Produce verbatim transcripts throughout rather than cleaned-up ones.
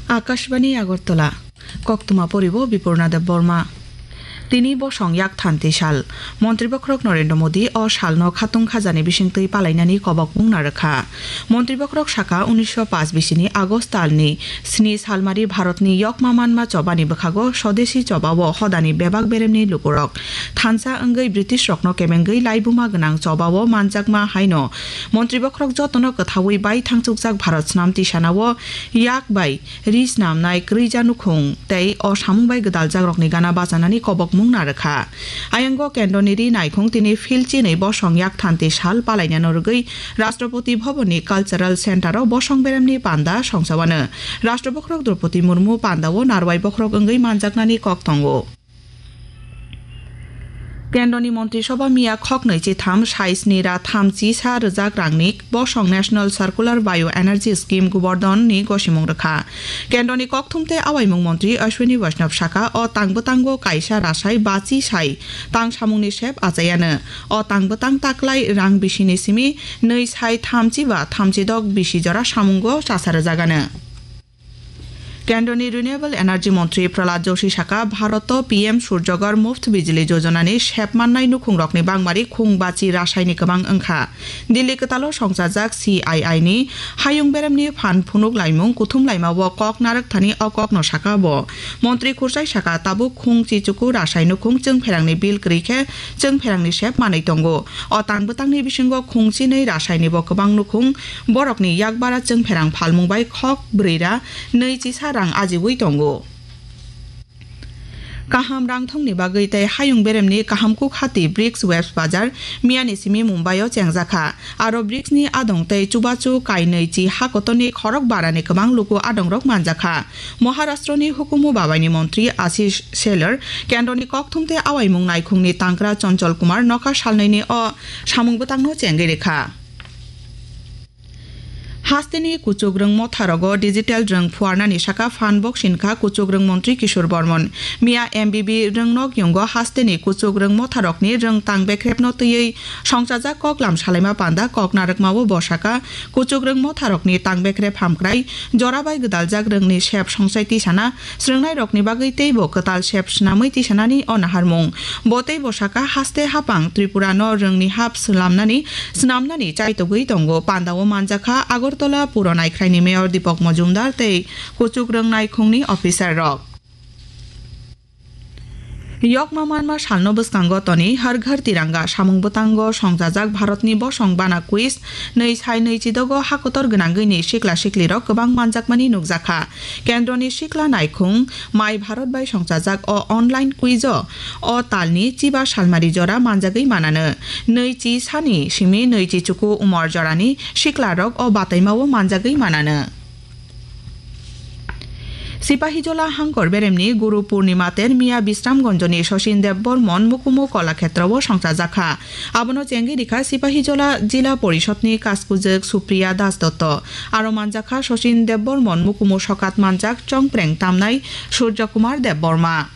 Akashbani Agartala, Koktwma poribo Bipurna Debbarma. Tini bosong yak thanti sal. Montri bokhorok Narendra Modi o salno khatung khajani bisingtwi palainani kobokmung narwkha. Montri bokhorok saka, unisho paanch bisini August talni sni salmari Bharatni yokma manma chobani bwkhago sodesi chobao hodani bebak beremni lukurok thansa wngwi British rokno kebengwi laibuma gwnang chobao manjakma haino montri bokhorok jotono kwthaui bai thangchukjak Bharat snam tisanao yak bai ri snamnai kwrwija nukhung tei o samung bai gwdaljakrokni gana bachanani kobokmung narwkha. Ayango kendroni ri naikhung tini philchinwi bosong yak thanti sal palainano rwgwi Rashtrapati Bhavanni Cultural Centre-o bosong beremni panda songchawano. Rashtra bokhorok Draupadi Murmu pandao narwai bokhorok wngwi manjaknani kok tongo. Kendroni Montri Sobha miya khoknwi chitham sai sni ra thamchi sa rwjak rangni bosong National Circular Bio Energy Scheme Gobardhan ni gosimung rwkha. Kendroni kokthum tei awaimung montri Ashwini Vaishnaw saka o tang bwtango kaisa rasai bachi sai tang samungni sep achayano. O tang bwtang taklai rang bisini simi nwi sai thamchi ba thamchi dok bisi jora samungo chasa rwjagano. Kendroni Renewable Energy Montri Prahlad Joshi saka, Bharoto P M Surjagor Muft Bijli Jojonani sep mannai nukhungrokni bangmari khung bachi rasaini kwbang wngkha. Delhi kwtalo songchajak C I I ni hayung beremni phan phunuk laimung kuthum laimao kok narwk thani o kokno saka bo. Montri Khursai saka, tabuk khung chichuku rasai nukhung chwngpherangni bill kwrwi khe chwngpherangni sep manwi tongo. O tang bwtangni bisingo khung chinwi rasaini bo kwbang nukhung borokni yakbara chwngpherang phalmung bai khok brwi ra nwi chisa rang ajiui tongo. Kaham rangthongni bagwi tei hayung beremni kaham kuk hati BRICS Webs Bazar miyani simi Mumbai-o chengjakha. Aro BRICS-ni adong tei chubachu kainwi chi ha kotorni khorok barani kwbang luku adongrok manjakha. Maharashtroni hukumu babaini montri Ashish Shelar, kendroni kokthum tei awaimung naikhungni tangkra Chonchol Kumar nokha salnwini o samung bwtangno chengwi rwkha. Hasteni kuchuk rwng motharogo digital rwng phuarnani saka phan bok sinkha kuchuk rwng montri Kishore Bormon. Miya M B B rwngnok yungo hasteni kuchuk rwng motharokni rwng tang bekrepno twiwi songchajak koklam salaima panda kok narwkmao bo saka, kuchuk rwng motharokni tang bekrep hamkrai jora bai gwdaljak rwngni sep songchai tisana srwngnairokni bagwi teibo kwtal sep snamwi tisanani o naharmung. Bo teibo saka, haste hapang Tripura no rwngni hap slamnani, snamnani chaitogwi tongo. Pandao manjakha Agartala Puro Naikhraini Mayor Deepak Majumdar tei kuchuk rwng naikhungni officer rok. Yokma manma salno bwskango toni Har Ghar Tiranga samung bwtango songchajak Bharatni bosong bana quiz nwi sai nwi chidogo hakotor gwnangwini sikla siklirok kwbang manjakmani nukjakha. Kendroni sikla naikhung My Bharat bai songchajak o online quiz-o o talni chiba salmari jora manjagwi manano. Nwi chi sani simi nwi chi chuku umor jorani siklarok o bataimao manjagwi manano. Sipahijola hangkor beremni Guru Purnima ter miya Bisramganjoni Sachin Debbarman Mukumu Kolakshetrowo songchajakha. Abono chengwi rikha Sipahijola Jila Porishodni Kaskujwk Supriya Das Dotto. Aro manjakha Sachin Debbarman Mukumu sokat manjak chongpreng tamnai Surjo Kumar Debbarma.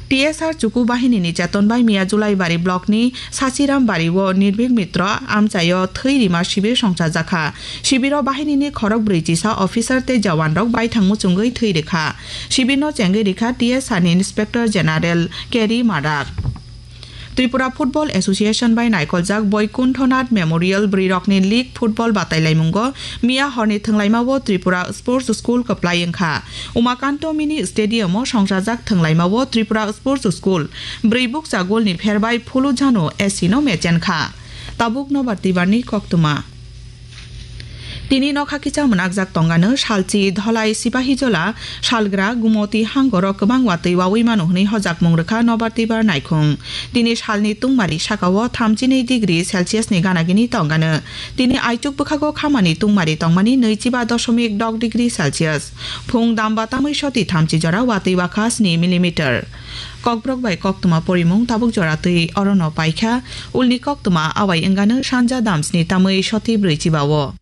T S R Chuku Bahinini Cheton bai miya Julaibari Blockni Sachiram Bari o Nirbhik Mitra amchaio thwi rima sibir songchajakha. Sibiro bahinini khorok brwi chisa officer tei jawanrok baithang muchungwi thwi rikha. Sibirno chengwi rikha T S R ni Inspector General K D Marak. Tripura Football Association bai naikoljak Boikunthonath Memorial Bwrwirokni League Football batailaimungo miya horni thwnglaimao Tripura Sports School kwplai wngkha. Umakanto Mini Stadium-o songchajak thwnglaimao Tripura Sports School bwrwi bukcha golni pherbai Phulujhano S C no mechenkha. Tabuk nobar tibarni koktwma. Tini nokha kisa mwnakjak tongano salchi dholai Sipahijola salgra Gumoti hangoro kwbang watwi wawi mano hwnwi hojakmung rwkha nobar tibar naikhung. Tini salni tungmari sakao thamchinwi degree Celsius ni ganagini tongano. Tini aichuk bwkhago khamani tungmari tongmani nwichiba doshomik dok degree Celsius. Phung damba tamwi soti thamchi jora watwi wakha sni millimeter. Kokborok bai koktwma porimung tabuk jora twi orono paikha. Ulni koktwma awai wngano sanja damsni tamwi soti brwi chibao.